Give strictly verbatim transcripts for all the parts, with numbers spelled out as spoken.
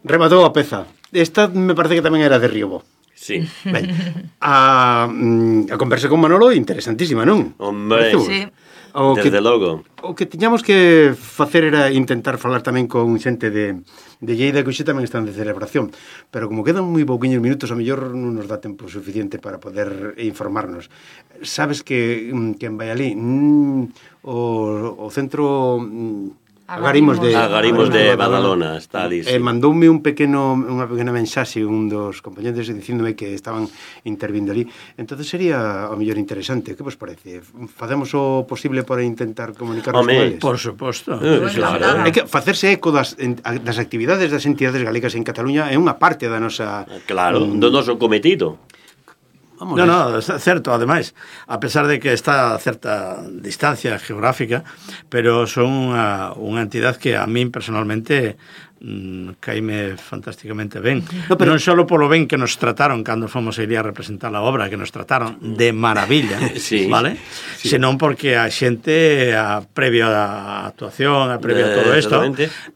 Rematou a peza. Esta me parece que tamén era de Riobo. Sí. Ben, a, a conversa con Manolo interesantísima, non? Hombre, Sí. O desde que, logo. O que tiñamos que facer era intentar falar tamén con xente de, de Lleida, que hoxe tamén están de celebración, pero como quedan moi pouquiños minutos, a mellor non nos dá tempo suficiente para poder informarnos. Sabes que, que en Valladolid mm, o, o centro mm, Agarimos de, Agarimos de Badalona está ali, sí. eh, mandoume un pequeno unha pequena mensaxe un dos compañeros dicíndome que estaban intervindo ali. Entonces sería o mellor interesante. Que vos parece? Facemos o posible para intentar comunicarnos Home, con eles? Por suposto. Eh, Bueno, claro. Hai que facerse eco das, das actividades das entidades galegas en Cataluña é unha parte da nosa... Claro, um, do noso cometido. No, no, é certo, ademais, a pesar de que está a certa distancia geográfica, pero son unha, unha entidade que a min personalmente mmm, caíme fantásticamente ben. No, pero non só polo ben que nos trataron cando fomos a ir a representar a obra, que nos trataron de maravilla, sí. vale? Sí. Senón porque a xente, a previo a actuación, a previo a todo isto,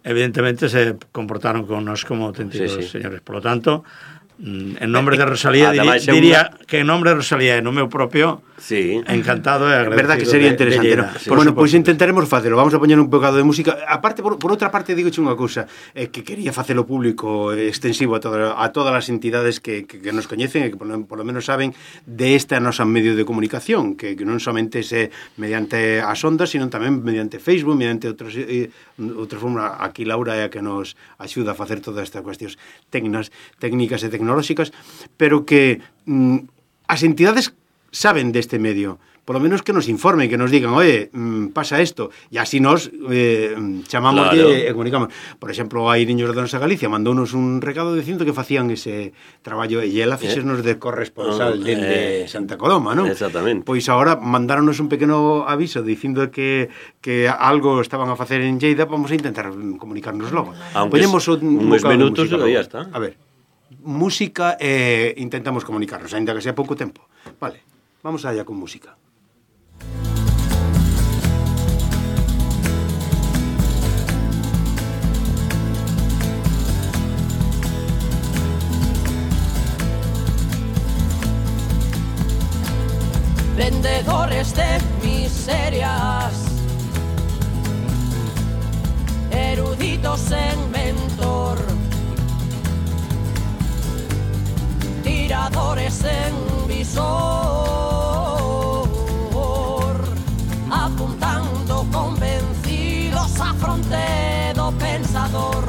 evidentemente se comportaron con nos como auténticos sí, sí. señores. Por lo tanto, en nombre de Rosalía diría, diría que en nombre de Rosalía e no meu propio sí. encantado e agradecido. Verdad que sería interesante, de, de ¿no? Sí. Bueno, pois pues intentaremos facelo. Vamos a poñer un bocado de música. Aparte, por, por outra parte, digoche unha cousa, eh, que quería facelo público extensivo a, todo, a todas as entidades que, que, que nos coñecen e que por, por lo menos saben de esta nosa medio de comunicación, que, que non somente se mediante as ondas, sino tamén mediante Facebook, mediante outros eh, outras formas. Aquí Laura é a que nos axuda a facer todas estas cuestións técnicas, técnicas e tecnolóxicas, pero que mm, as entidades saben deste medio, por lo menos que nos informen, que nos digan, oye, mmm, pasa esto, e así nos eh, chamamos claro. e, e comunicamos. Por exemplo, a Iriños de Nosa Galicia mandounos un recado dicindo que facían ese traballo, e ela fixernos eh? de corresponsal oh, dende eh, Santa Coloma, non? Exactamente. Pois agora mandáronos un pequeno aviso dicindo que, que algo estaban a facer en Lleida, vamos a intentar comunicarnos logo. Aunque Ponemos un, un uns minutos e ya está. A ver, música e eh, intentamos comunicarnos, ainda que sea pouco tempo. Vale, vamos allá con música. Vendedores de miserias, eruditos en mentor, tiradores en visor, apuntando convencidos a fronte do pensador,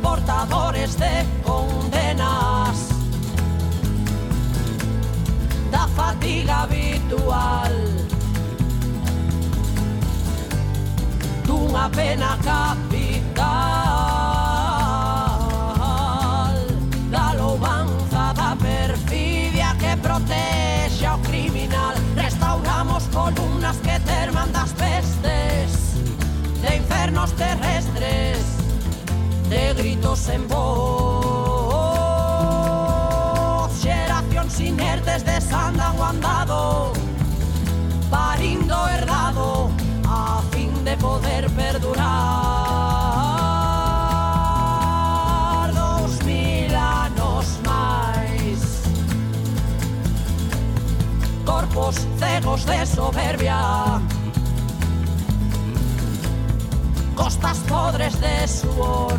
portadores de condenas da fatiga habitual, dunha pena capital, da louvanza da perfidia que protexe ao criminal. Restauramos columnas que terman das pestes, de infernos terrestres, de gritos en voz, xeracións inertes desandan o andado, parindo herdado a fin de poder perdurar dous mil anos máis. Corpos cegos de soberbia, costas podres de suor,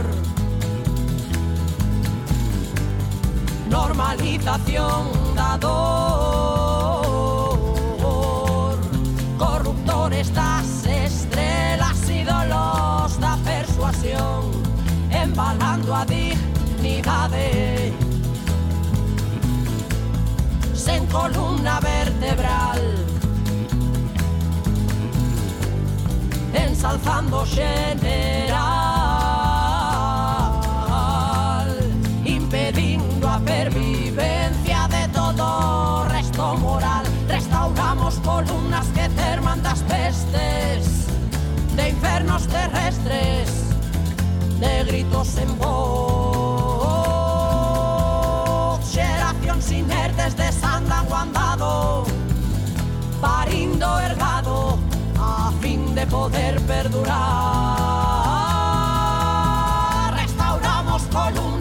normalización da dor, corruptores das estrelas, ídolos da persuasión, embalando a dignidade sen columna vertebral, ensalzando general, impedindo a pervivencia de todo resto moral. Restauramos columnas que terman das pestes, de infernos terrestres, de gritos en voz, xeracións inertes desandan o andado, parindo ergado a fin de poder perdurar. Restauramos columnas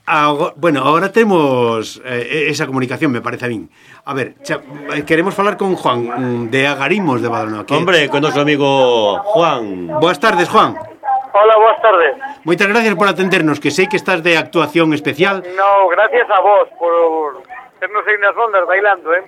Agora, bueno, ahora temos eh, esa comunicación, me parece a min. A ver, cha, queremos falar con Juan de Agarimos de Badalona. Que... Hombre, con noso amigo Juan. Boas tardes, Juan. Hola, boas tardes. Moitas gracias por atendernos, que sei que estás de actuación especial. No, gracias a vos por ternos aí nas ondas bailando, eh?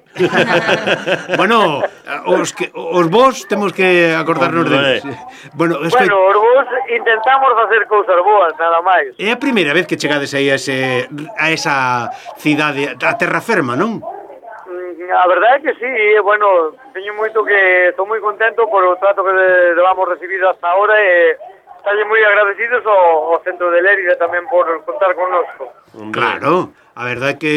Bueno, os, que, os vos temos que acordarnos deles. Bueno, es bueno, os vos intentamos facer cousas boas, nada máis. É a primeira vez que chegades aí a, ese, a esa cidade, a terra ferma, non? A verdade é que sí, bueno, teño moito que estou moi contento por o trato que levamos recibido hasta ahora e estarlle moi agradecidos ao, ao Centro de Lérida tamén por contar connosco. Claro, a verdade é que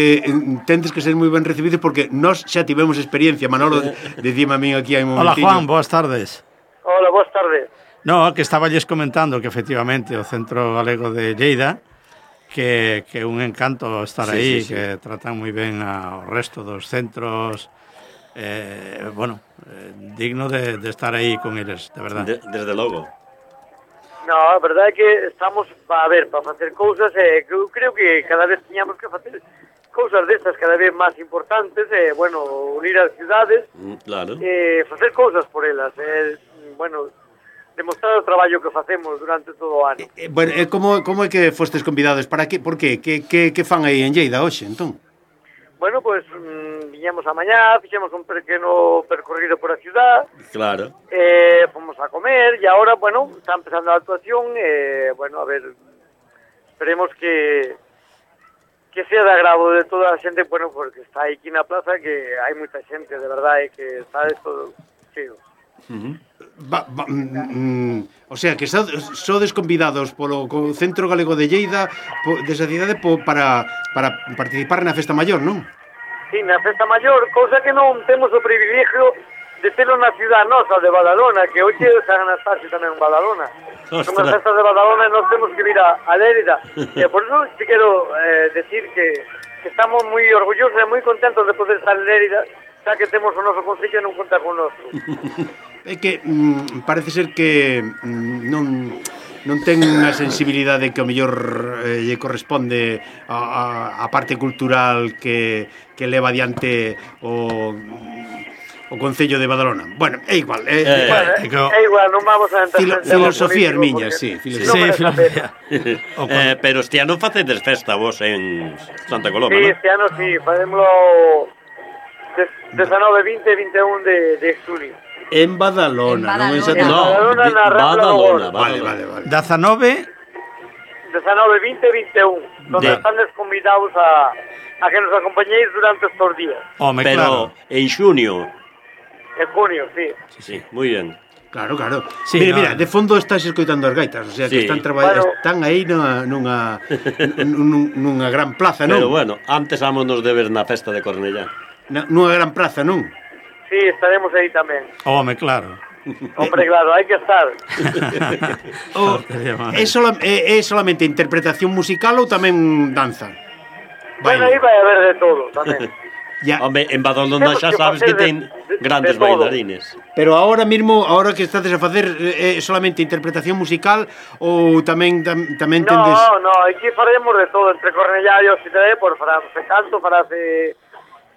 tendes que ser moi ben recibidos porque nós xa tivemos experiencia, Manolo, dicime a min aquí hai un momentinho. Hola Juan, boas tardes. Hola, boas tardes. No, que estáballes comentando que efectivamente o Centro Galego de Lleida que é que un encanto estar sí, aí, sí, sí. Que tratan moi ben ao resto dos centros, eh, bueno, eh, digno de, de estar aí con eles, de verdade. De, desde logo. No, a verdade é que estamos, a ver, para facer cousas, eh, que eu creo que cada vez tiñamos que facer cousas destas cada vez máis importantes, eh, bueno, unir as ciudades, claro. eh, facer cousas por elas, eh, bueno, demostrar o traballo que facemos durante todo o ano. Eh, bueno, eh, como, como é que fostes convidados? Para que? Por que? Que, que, que fan aí en Lleida hoxe, entón? Bueno, pois, pues, mmm, viñemos a mañá, fixemos un pequeno percorrido por a ciudad. Claro. Eh, fomos a comer, e agora, bueno, está empezando a actuación, eh, bueno, a ver, esperemos que que sea de agrado de toda a xente, bueno, porque está aí aquí na plaza, que hai moita xente, de verdade, que está de todo chido. Uh-huh. Va, va, mm, o sea, que sodes convidados polo Centro Galego de Lleida po, desa cidade po, para, para participar na Festa Maior, non? Sí, na Festa Maior, cousa que non temos o privilegio de telo na ciudad nosa de Badalona, que hoxe é San Anastasio tamén en Badalona. Ostras. Son as festas de Badalona e nós temos que vir a, a Lérida. E por eso te quero eh, decir que, que estamos moi orgullosos e moi contentos de poder estar en Lérida, xa que temos o noso concello e non conta con noso. É que mm, parece ser que mm, non non ten unha sensibilidade que o mellor eh, lle corresponde a, a, a parte cultural que, que leva adiante o, o Concello de Badalona. Bueno, é igual. É, eh, bueno, é, é igual, non vamos a entrar Filo, filosofía ermiña, sí. Filosofía. Sí, filosofía. eh, pero este ano facedes festa vos en Santa Coloma, sí, non? Este ano sí, facémolo dezanove, vinte e vinte e un de, de xunio. En Badalona, non en Santa Coloma. No, Badalona, Badalona. Vale, vale, vale. dezanove dezanove, vinte e vinte e un, donde de... están convidados a, a que nos acompañéis durante estos días. Home, pero claro. En xunio. En junio, sí. Sí, sí, moi ben. Claro, claro. Sí, mira, no, mira, de fondo estás escoitando as gaitas, o sea, que sí. están traballando, bueno, están aí nunha nunha nunha gran plaza, non? Pero bueno, antes vámonos de ver na festa de Cornellá. Na, nunha gran plaza, non? Sí, estaremos aí tamén. Home, claro. Hombre, claro, hai que estar. o, é, sola, é, é solamente interpretación musical ou tamén danza? Bueno, aí vai haber de todo, tamén. Ya. Home, en Badalona xa sabes que ten grandes de bailarines. Pero ahora mismo, ahora que estades a facer é eh, solamente interpretación musical ou tamén tam, tamén tendes... No, no, aquí faremos de todo, entre Cornellá e Hospitalet, por farase canto, farase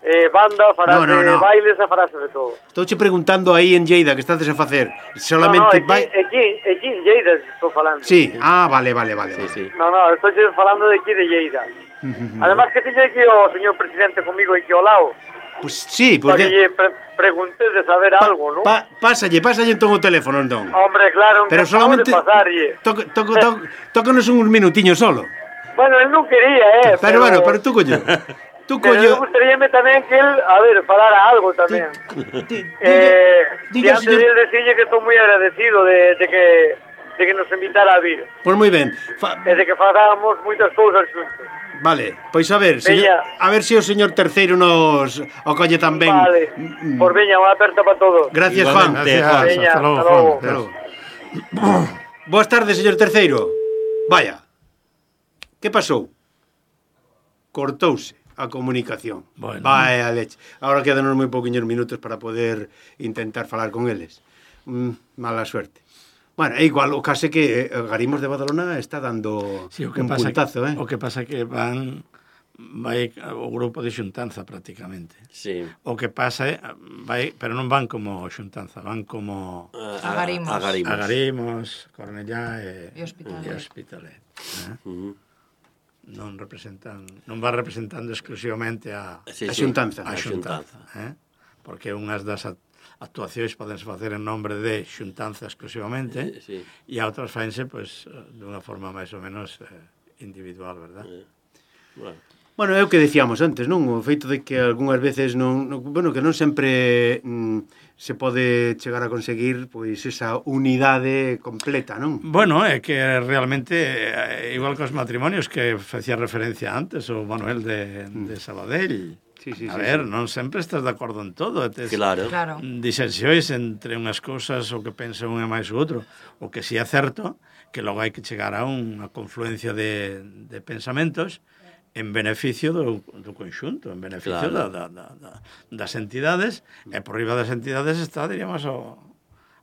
eh, banda, farase no, no, no. bailes e farase de todo. Estou che preguntando aí en Lleida que estades a facer solamente... No, no, aquí, aquí, aquí en Lleida estou falando. Sí, ah, vale, vale, vale. Sí, sí. No, no, estou falando de aquí de Lleida. Además que tiñe aquí o señor presidente comigo aquí ao lado. Pues sí, pues para que lle pre preguntes de saber pa, algo, ¿no? Pa, pásalle, pásalle entón o teléfono, entón. Hombre, claro, pero solamente pasarlle. Toc, toc, toc, tócanos uns minutiños solo. Bueno, él non quería, eh. Pero, pero bueno, pero tú coño. Tú pero coño. Me gustaríame tamén que él, a ver, falara algo tamén. Di, di, eh, diga, y antes de decirle que estou moi agradecido de, de que de que nos invitara a vir. Pois pues moi ben. Fa... E de que faláramos moitas cousas xuntos. Vale, pois a ver, señor, a ver se si o señor terceiro nos acolle tamén. Vale, mm. Por veña, unha aperta para todos. Gracias, Juan. Gracias, Juan. Veña, hasta logo, hasta logo. Hasta logo. Boas tardes, señor terceiro. Vaya. Que pasou? Cortouse a comunicación. Bueno. Vaya leche. Ahora quedan moi pouquiños minutos para poder intentar falar con eles. Mm, mala suerte. Bueno, é igual, o case que Garimos de Badalona está dando sí, o que un pasa puntazo, que, eh? O que pasa que van vai o grupo de xuntanza prácticamente. Sí. O que pasa é vai, pero non van como xuntanza, van como A, Agarimos. Agarimos. Agarimos, Cornellá e, E Hospitalet. e Hospitalet, eh? Uh -huh. Non representan, non van representando exclusivamente a Sí, A sí. xuntanza. a xuntanza, eh? Porque unhas das actuacións podense facer en nombre de xuntanza exclusivamente, Sí. e a outras faense pois dunha forma máis ou menos eh, individual, verdad? Eh. Bueno. Bueno, é o que decíamos antes, non? O feito de que algunhas veces non, non bueno, que non sempre mm, se pode chegar a conseguir pois esa unidade completa, non? Bueno, é que realmente eh, igual que os matrimonios que facía referencia antes o Manuel de, de Sabadell. Sí, sí, a sí, ver, sí. non sempre estás de acordo en todo, tes Claro. Claro. disensións entre unhas cousas o que pensa un e máis o outro, o que si é certo que logo hai que chegar a unha confluencia de, de pensamentos en beneficio do, do conxunto, en beneficio Claro. da, da, da, das entidades, e por riba das entidades está, diríamos, o,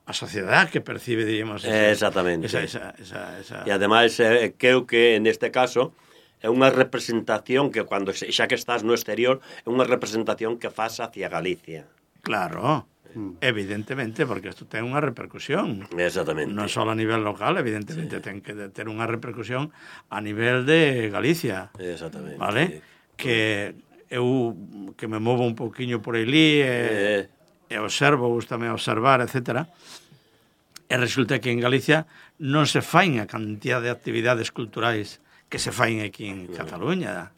a sociedade que percibe, diríamos, Eh, exactamente. esa, esa, esa, esa... E ademais, eh, creo que neste caso é unha representación que cando xa que estás no exterior é unha representación que faz hacia Galicia. Claro, evidentemente, porque isto ten unha repercusión. Exactamente. Non só a nivel local, evidentemente, sí. ten que ter unha repercusión a nivel de Galicia. Exactamente. Vale? Que eu que me movo un poquinho por aí e, Eh. e observo, gustame observar, etcétera. E resulta que en Galicia non se fain a cantidad de actividades culturais que se fain aquí en Cataluña,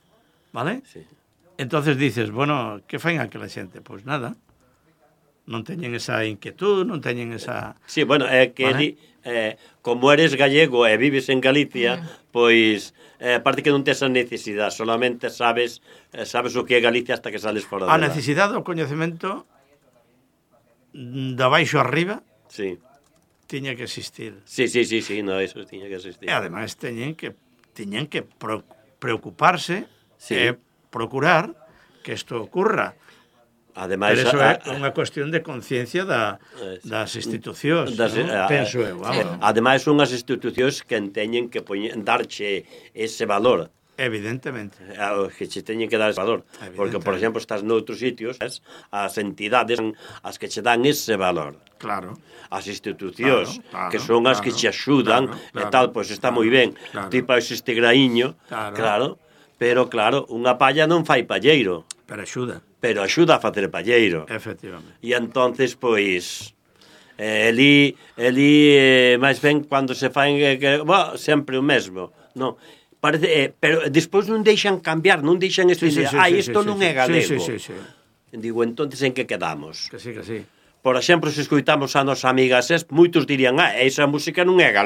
vale? Sí. Entonces dices, bueno, que fain aquela xente? Pois nada, non teñen esa inquietud, non teñen esa... Sí, bueno, é que Vale. di, eh, como eres gallego e vives en Galicia, mm. pois eh, aparte que non tes a necesidade, solamente sabes eh, sabes o que é Galicia hasta que sales fora A dela. necesidade do coñecemento da baixo arriba Sí. tiña que existir. Sí, sí, sí, sí, no, eso tiña que existir. E ademais teñen que tiñen que pro, preocuparse Sí. e procurar que isto ocurra. Ademais, Pero eso a, é unha cuestión de conciencia da, Eh, sí. das institucións, Das- non? a- Penso eu, eh, vamos. ademais son as institucións que teñen que poñer, darche ese valor. Evidentemente. A- que che teñen que dar ese valor. Porque, por exemplo, estás noutros sitios, as, as entidades as que che dan ese valor. Claro. As institucións, Claro, claro, que son as que claro, che axudan, claro, e claro, tal, pois está claro, moi ben. claro. Tipo este graíño, Claro. claro, pero claro, unha palla non fai palleiro, Pero axuda, pero axuda a facer palleiro. efectivamente. E entonces, pois, eh, eli, eli eh, máis ben cando se faen, eh, que, bah, sempre o mesmo, non? Parece, eh, pero despois non deixan cambiar, non deixan Sí, sí, estudar, sí, ah, sí, isto sí, non sí, é galego. Sí, sí, sí, sí. Digo, entonces en que quedamos? Que sí, que sí. Por exemplo, se escoitamos a nosa amiga Ses, moitos dirían, ah, esa música non é galega.